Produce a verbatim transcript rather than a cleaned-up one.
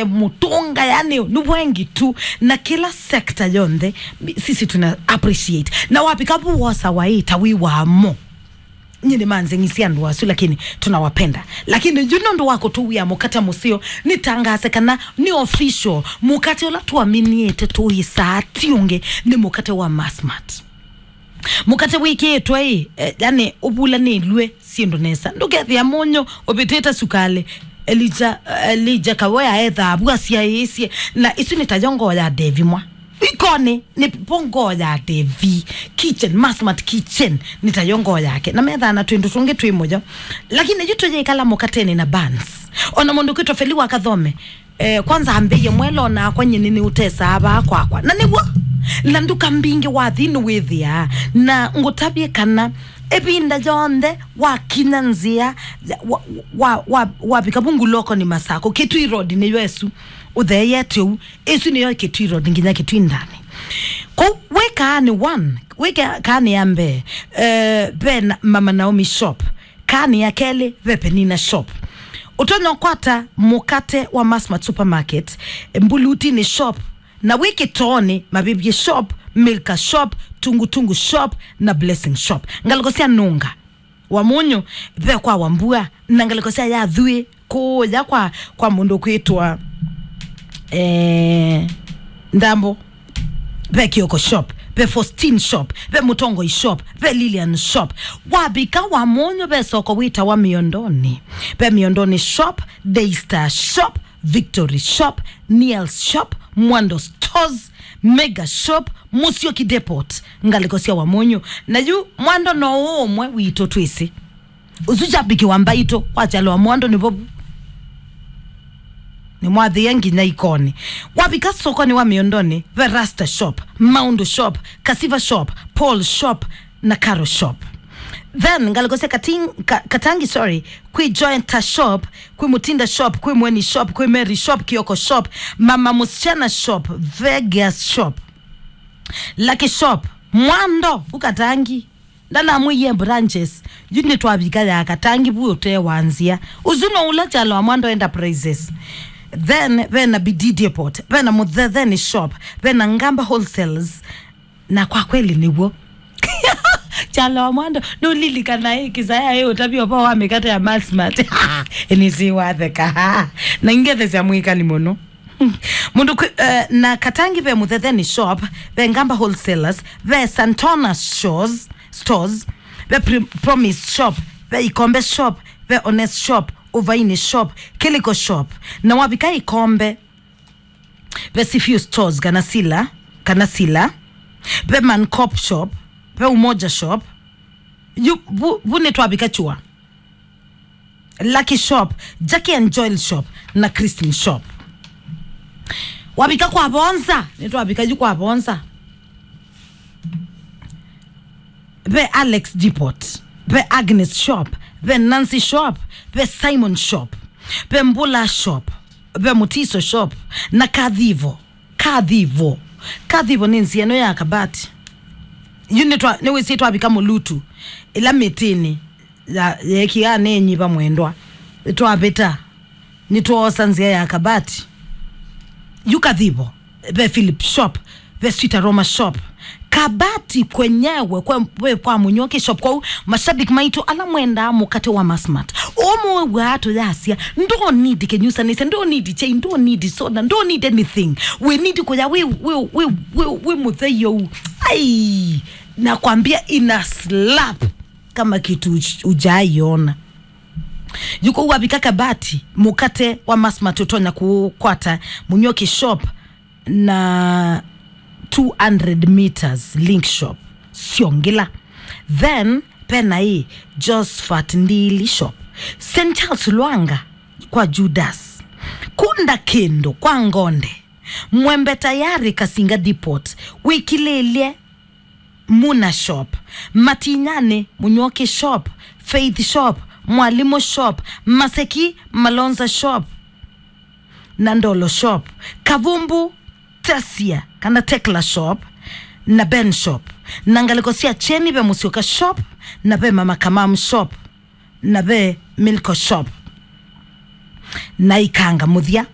mũtũnga, yani nĩ wengi tu, na kĩla sector yonthe sisi tuna appreciate. Na wavika vu wosa waĩ ta wĩ wamo, nyie nĩmanzeng'isye andũ asu, lakini tunawapenda. Lakini yu nũndũ wa kũtũwĩa mũkate mũseo, nĩtangaase kana nĩ official, mũkate ũla twaminiĩte tũĩsaa ti ũngĩ, nĩ mũkate wa Massmart. Mũkate wĩkĩĩtwe ĩ, eh, yani ũvulanĩlw'e syĩndũ nesa. Ndũkethĩa mũnyũ ũvĩtĩte sukalĩ. Elija, Elija Kawea ethaa vu asyaĩĩsye, na isu nĩ tayo ngoo ya Devi mwa. Ikoni nĩ vo ngoo ya Devi. Kitchen, Massmart Kitchen, nĩ tayo ngoo yake. Na methaa na twĩndũ tũngĩ twĩ mũyo. Lakini yu tũyĩkala mũkatenĩ na buns. Ona mũndũ kwĩtwa Feli wa Kathome, eh, kwanza ambĩie mwela onakwa nyie nĩnĩũtesaa vaa kwakwa. Na nĩw'o, na nduka mbingĩ wathi nĩwĩthĩaa. Na ngũtavye kana ĩvinda yonthe wakinya nzĩa, wa, wa, wa, wavika vu Ngulokoni Masako, Kitui Road nĩyo ĩsu, ũtheeyete ũu, ĩsu nĩyo Kitui Road nginya Kitui ndani. Kũu wĩ Kaani one, wĩ Ka-, Kaani ya mbee, eh, ve na Mama Naomi shop, Kaani ya kelĩ ve Penina shop. Ũtonya ũkwata mũkate wa Massmart Supermarket, Mbulutinĩ shop, na wĩ Kĩtoonĩ, Mavĩvyĩ shop, Milka shop, Tungutungu shop, na Blessing shop. Ngalĩko sya Nũnga, Wamunyu, ve kwa Wambua, na ngalĩko sya Yathui, kũũya kwa, kwa mũndũ kwĩtwa, eh, Ndambo. Ve Kioko shop, ve Faustin shop, ve Mũtongoi shop, ve Lilian shop. Wavika Wamunyu ve soko wĩtawa Miondoni. Ve Miondoni shop, Daystar shop, Victory shop, Niels shop, Mwando stores, Mega shop, Musyoki depot, ngalĩko sya Wamunyu. Na yu Mwando no ũmwe witũ twĩsĩ. Ũsu kyambĩkĩwa mbaitũ, kwa kyalo wa Mwando nĩ vovu. Nĩmwathĩe nginya Ikoni. Wavika sokoni wa Miondoni, ve Rasta shop, Maundu shop, Kasiva shop, Paul shop, na Caro shop. Then, ngalĩko sya Kating-, Ka-, Katangi, sorry, kwĩ Joenta shop, kwĩ Mutinda shop, kwĩ Mweni shop, kwĩ Mary shop, Kioko shop, Mama Musichana shop, Vegas shop, Lucky shop, Mwando, vu Katangi. Ndanamwĩie branches, yu nĩtwavika ya Katangi vu ũtee wa nzĩa. Ũsu no ũla kyalo wa Mwando Enterprises. Then, ve na Bidii Depot, ve na Mũthetheni shop, ve na Ngamba Wholesales. Na kwa kweli nĩw'o. Kyalo wa Mwando, nũlilikana ĩ kĩsaya ĩ ũtavya ũvoo wa mĩkate ya Massmart. Nĩsĩ watheka. Na ingethesya mwĩkali mũno. Mũndũ kwĩ, eh, na Katangi ve Mũthetheni shop, ve Ngamba Wholesalers, ve Santona Stores, ve Pri-, Promise shop, ve Ikombe shop, ve Honest shop, Uvaini shop, Kiliko shop. Na wavika Ikombe, ve Sifiu Stores kana Sila, kana Sila, ve Mancop shop, ve Umoja shop. Yu, vu, vu nĩtwavika chua. Lucky shop, Jackie and Joel shop, na Christine shop. Wavika kwa Vonza, nĩtwavika yu kwa Vonza. Ve Alex Depot, ve Agnes shop, ve Nancy shop, ve Simon shop, ve Mbula shop, ve Mutiso shop, na Kathivo. Kathivo. Kathivo nĩ nzĩa ĩno ya Kabati. Yu nĩtwa-, nĩwĩsĩ twavika Mũlutu, ĩla mĩtĩnĩ ya, yeekiaa nĩ nyiva mwendwa. Twavĩta, nĩtwoosa nzĩa ya Kabati. Yu Kathivo, ve Philip shop, ve Sweet Aroma shop. Kabati kwenyewe, kwe, we kwa Mũnyoki shop. Kwoou, mashabiki maitũ ala mwendaa mũkate wa Massmart, ũmwe wĩw'aa tũyasya, "Ndũ need kĩnyusanĩsya, ndũ need chai, ndũ need soda, ndũ need anything." We need kũya wĩ, wĩ, wĩ, wĩ, wĩ mũthei ũu. Ai, nakwambia ina slap kama kitu uj-, ujaiona. Yu kũu wavika Kabati, mũkate wa Massmart ũtonya kũkwata Mũnyoki shop na two hundred meters Link shop, Siongila. Then, pena ĩ Josephat Ndili shop, Saint Charles Lwanga kwa Judas. Kunda kĩndũ kwa Ngonde. Mwembe tayari Kasinga Depot, wĩkilĩlye Muna shop, Matinyani, Mũnyoki shop, Faith shop, Mwalimu shop, Maseki, Malonza shop, na Ndolo shop, Kavumbu, Tesia, kana Tekla shop, na Ben shop, na ngalĩko sya Kyeni ve Mũsyoka shop, na ve Mama Kamam shop, na ve Milko shop, na Ikanga mũthya.